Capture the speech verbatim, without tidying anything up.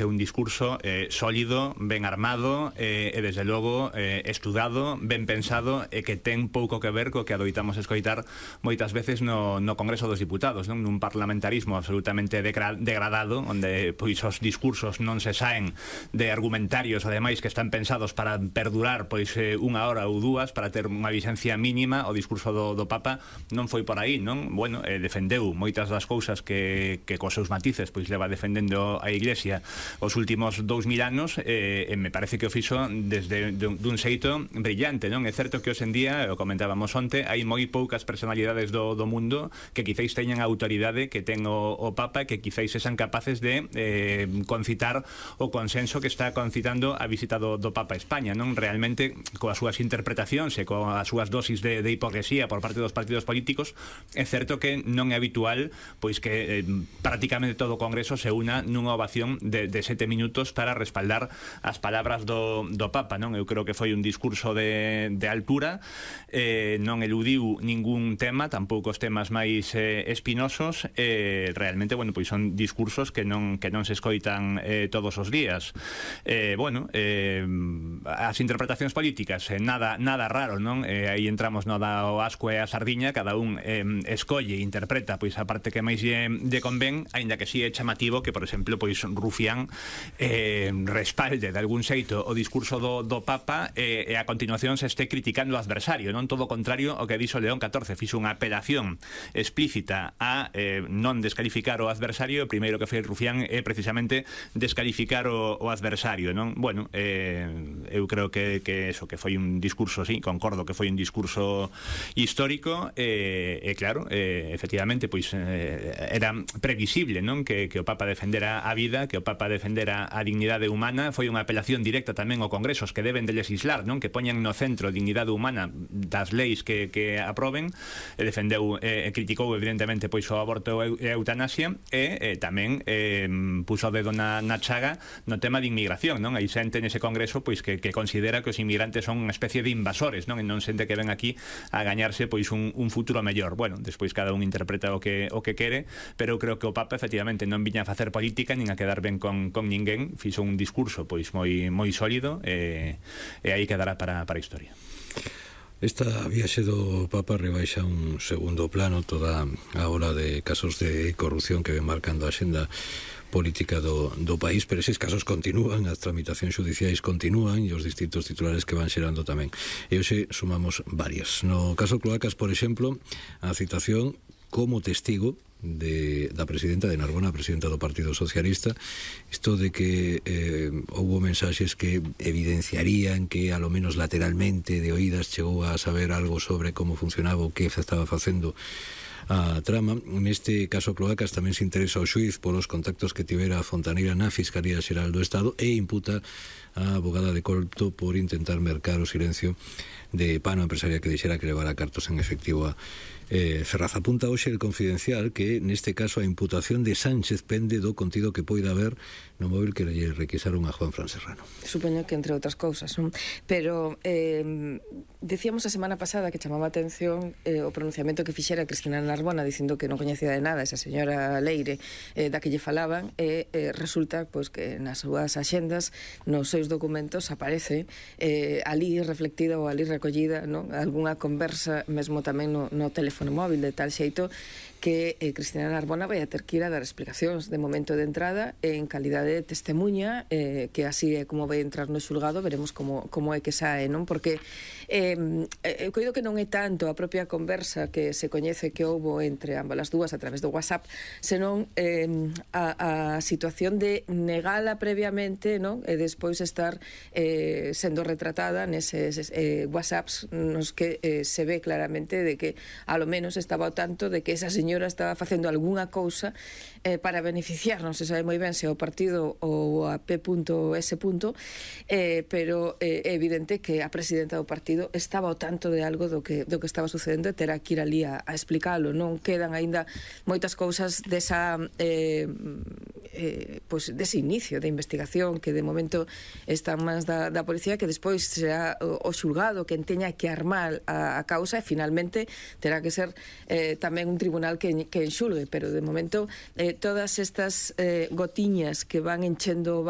un discurso eh, sólido, ben armado eh, e desde logo eh, estudado, ben pensado e que ten pouco que ver co que adoitamos escoitar moitas veces no, no Congreso dos Diputados, non? Nun parlamentarismo absolutamente degra degradado, onde pois os discursos non se saen de argumentarios ademais que están pensados para perdurar pois eh, unha hora ou dúas, para ter unha vixencia mínima. O discurso do, do Papa non foi por aí, non? Bueno, eh, defendeu moitas das cousas que, que cos seus matices pois leva defendendo a Iglesia os últimos dous mil anos, eh, e me parece que o fixo desde dun, dun xeito brillante, non? É certo que hoxe en día, o comentábamos onte, hai moi poucas personalidades do, do mundo que quizáis teñan a autoridade que ten o, o Papa, que quizáis sean capaces de eh, concitar o consenso que está concitando a visita do, do Papa a España, non? Realmente, coas súas interpretacións e coas súas dosis de, de hipocresía por parte dos partidos políticos, é certo que non é habitual pois que eh, prácticamente todo o Congreso se una nunha ovación de, de sete minutos para respaldar as palabras do, do Papa, non? Eu creo que foi un discurso de, de altura, eh, non eludiu ningún tema, tampouco os temas máis eh, espinosos, eh, realmente, bueno, pois son discursos que non, que non se escoitan eh, todos os días. Eh, bueno, eh, as interpretacións políticas, eh, nada, nada raro, non? Eh, aí entramos no da o asco e a sardiña, cada un eh, escolle e interpreta pois a parte que máis lle, lle convén, aínda que si é chamativo que, por exemplo, pois Rufián eh, respalde de algún xeito o discurso do, do Papa eh, e a continuación se este criticando o adversario, non? Todo o contrario o que dixo León catorce, fixo unha apelación explícita a eh, non descalificar o adversario. O primeiro que fai Rufián é precisamente descalificar o, o adversario, non? Bueno, eh, eu creo que, que eso, que foi un discurso, sí, concordo que foi un discurso histórico e, eh, eh, claro, eh, efectivamente, pois eh, era previsible, non? Que, que o Papa defendera a vida, que o Papa defendera a dignidade humana. Foi unha apelación directa tamén ao Congresos que deben de legislar, non? Que poñan no centro a dignidade humana das leis que, que aproben, e defendeu e eh, criticou evidentemente pois o aborto e a eutanasia, e eh, tamén eh, puso o dedo na, na chaga no tema de inmigración, non? Hai xente nese Congreso pois que, que considera que os inmigrantes son unha especie de invasores, non? E non xente que ven aquí a gañarse pois un, un futuro mellor. Bueno, despois cada un interpreta o que, o que quere, pero eu creo que o Papa efectivamente non viña a facer política nin a quedar ben con, con ninguén, fixo un discurso pois moi moi sólido e, e aí quedará para, para a historia. Esta viaxe do Papa rebaixa un segundo plano toda a ola de casos de corrupción que ven marcando a xenda política do, do país, pero eses casos continúan, as tramitacións judiciais continúan e os distintos titulares que van xerando tamén. E hoxe sumamos varias. No caso Cloacas, por exemplo, a citación como testigo de, da presidenta de Narbona, a presidenta do Partido Socialista, isto de que eh, houbo mensaxes que evidenciarían que a lo menos lateralmente de oídas chegou a saber algo sobre como funcionaba o que se estaba facendo a trama. Neste caso Cloacas tamén se interesa o xuiz polos contactos que tivera a Fontaneira na Fiscalía Xeral do Estado e imputa a abogada de Colto por intentar mercar o silencio de Pano, empresaria que dixera que levara cartos en efectivo a eh, Ferraz. Apunta hoxe el Confidencial que neste caso a imputación de Sánchez pende do contido que poida haber no móvil que lle requisaron a Juan Fran Serrano. Supoño que entre outras cousas, non? Pero eh, decíamos a semana pasada que chamaba a atención eh, o pronunciamento que fixera Cristina Narbona dicindo que non coñecía de nada esa señora Leire eh, da que lle falaban, e eh, resulta pois, que nas súas axendas, nos seus documentos aparece eh, ali reflectida ou ali recollida, non? Algunha conversa mesmo tamén no, no teléfono móvil, de tal xeito que eh, Cristina Narbona vai a ter que ir a dar explicacións de momento de entrada en calidade de testemunha, eh, que así é como vai entrar no xulgado. Veremos como, como é que sae, non? Porque eh, eu coido que non é tanto a propia conversa que se coñece que houbo entre ambas as dúas a través do WhatsApp, senón eh, a, a situación de negala previamente, non? E despois estar eh, sendo retratada neses eh, WhatsApps nos que eh, se ve claramente de que a lo menos estaba ao tanto de que esa señora estaba facendo algunha cousa eh, para beneficiar, non se sabe moi ben se ao partido ou a P S eh, pero eh, é evidente que a presidenta do partido estaba ao tanto de algo do que, do que estaba sucedendo e terá que ir ali a, a explicalo. Non quedan aínda moitas cousas desa eh, eh, pues dese inicio de investigación que de momento está en mans da, da policía, que despois será o, o xulgado que teña que armar a, a causa, e finalmente terá que ser eh, tamén un tribunal que, que enxulgue, pero de momento eh, todas estas eh, gotiñas que van enchendo